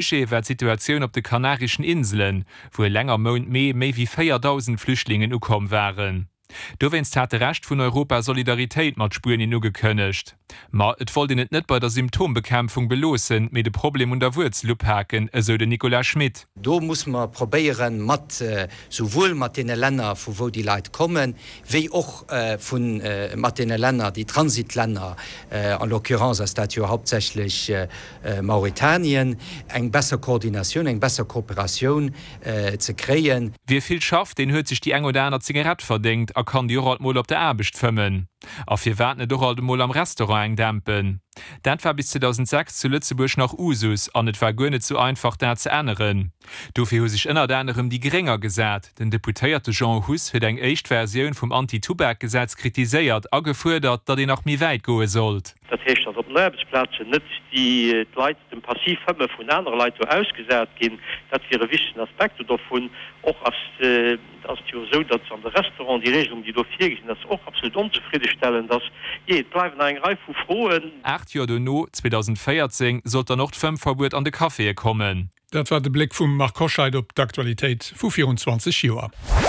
Sujet war d'Situatioun op de Kanarischen Inselen, wou eleng am Mount Mee méi wéi 4.000 Flüchtlingen ukomm waren. Dowéinst hat de Rescht vun Europa Solidaritéit mat Spuenien ugekënnegt. Ma et wollt een et net bei der Symptombekämpfung beloossen, mee de Problem un der Wuerzel upaken, esou den Nicolas Schmit. Do musse mer probéieren, mat souwuel mat deene Länner, vu wou déi Leit kommen, wéi och vu mat deene Länner, déi Transitlänner, en l'occurrence ass dat jo hauptsächlech Mauretanien, eng besser Koordinatioun, eng besser Kooperatioun ze kréien. Wie vill schafft, deen huet sech déi eng oder aner Zigarett verdéngt a kann déi och alt mol op der Aarbecht fëmmen. A firwat net och alt emol am Restaurant eng dämpen? Dat war bis 2006 zu Lëtzebuerg nach Usus an et war guer net sou einfach dat ze änneren. Dofir hu sech ënnert anerem déi Gréng agesat. Den Deputéierte Jean Huss huet eng éischt Versioun vum Anti-Tubak-Gesetz kritiséiert a gefuerdert, datt een nach méi wäit goe sollt. Dat heescht, datt op den Aarbechtsplazen net déi d'Leit dem Passivfëmme vun anere Leit do ausgesat ginn. Dat wier e wichtegen Aspekt do dovun. Och ass ass et jo esou, datt an de Restauranten déi Regelung, déi do virgesinn ass, och absolut onzefriddestellend ass. Jee, et bleiwen nach eng Rei vu Froen. 8 Joer dono, 2014, sollt dann och d'Fëmmverbuet an de Caféë kommen. Dat war de Bléck vum Marc Hoscheid op d'Aktualitéit vu virun 20 Joer.